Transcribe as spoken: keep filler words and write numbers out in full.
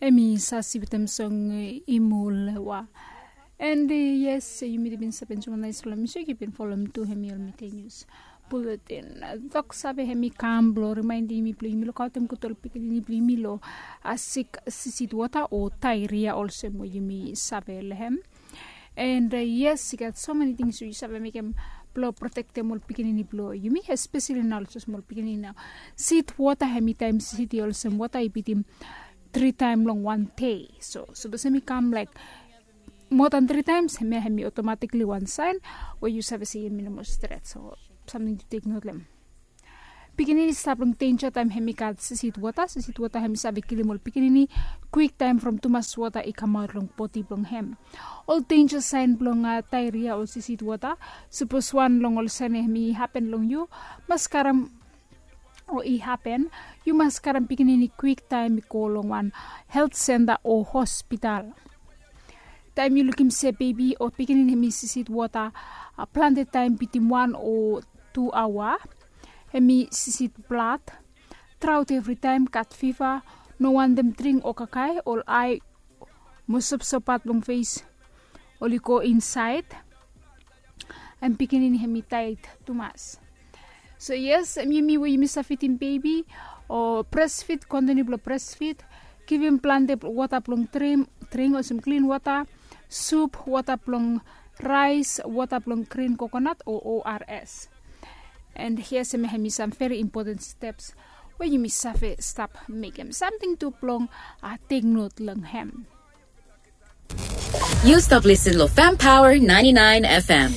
Em i sasi wetem song imulewa. And yes, yumi bin save enjoy nais long music. Yu bin follow tu hem i ol mite news bulletin. Tok save hem i kam blong rimaindim yumi blong yumi lukautim gut ol pikinini blong yumi long sik sisit wota o tairia olsem we yumi save long hem. And yes, i gat so meni tings we yu save mekem blong protektem ol pikinini blong yumi, espeseli nao olsem ol pikinini nao. Sit wota hem i taem siti olsem wota i bitim tri taem long wan dei. So sapos hem i kam laik moa dan tri taems, hemia hem i otomatikli wan saen we yu save se yumi no moa stret. So samting tu tek not long hem. Pikinini stap long denja taem hem i gat sisit wota. Sisit wota hem i save kilim ol pikinini kwiktaem from tumas wota i kamaot long bodi blong hem. Ol denja saen blong tairia o sisit wota. Sapos wan long ol saen hem i hapen long yu, mas karem o i hapen, yu mas karem pikinini kwiktaem i go long wan helt senta o hospital. Taem yu lukim se bebi o pikinini hem i sisit wota plante taem bitim wan o tu aoa, hem i sisit blad, traot evritaem, gat fiva, no wantem dring o kakae, ol ae mo sopsop pat long fes oli go insaed. Hem pikinini hem i taet tumas. So yes, hem yumi we yumi save fidim bebi o bresfid, kontiniu blong bresfid, givim plante wota blong dring olsem klin wota, sup, wota blong raes, wota blong grin kokonat o ors. And hia sem hem i sam veri impoten steps we yumi save stap mekem samting tu blong tek not long hem. Yu stap lisin long Fem Power ninety-nine F M.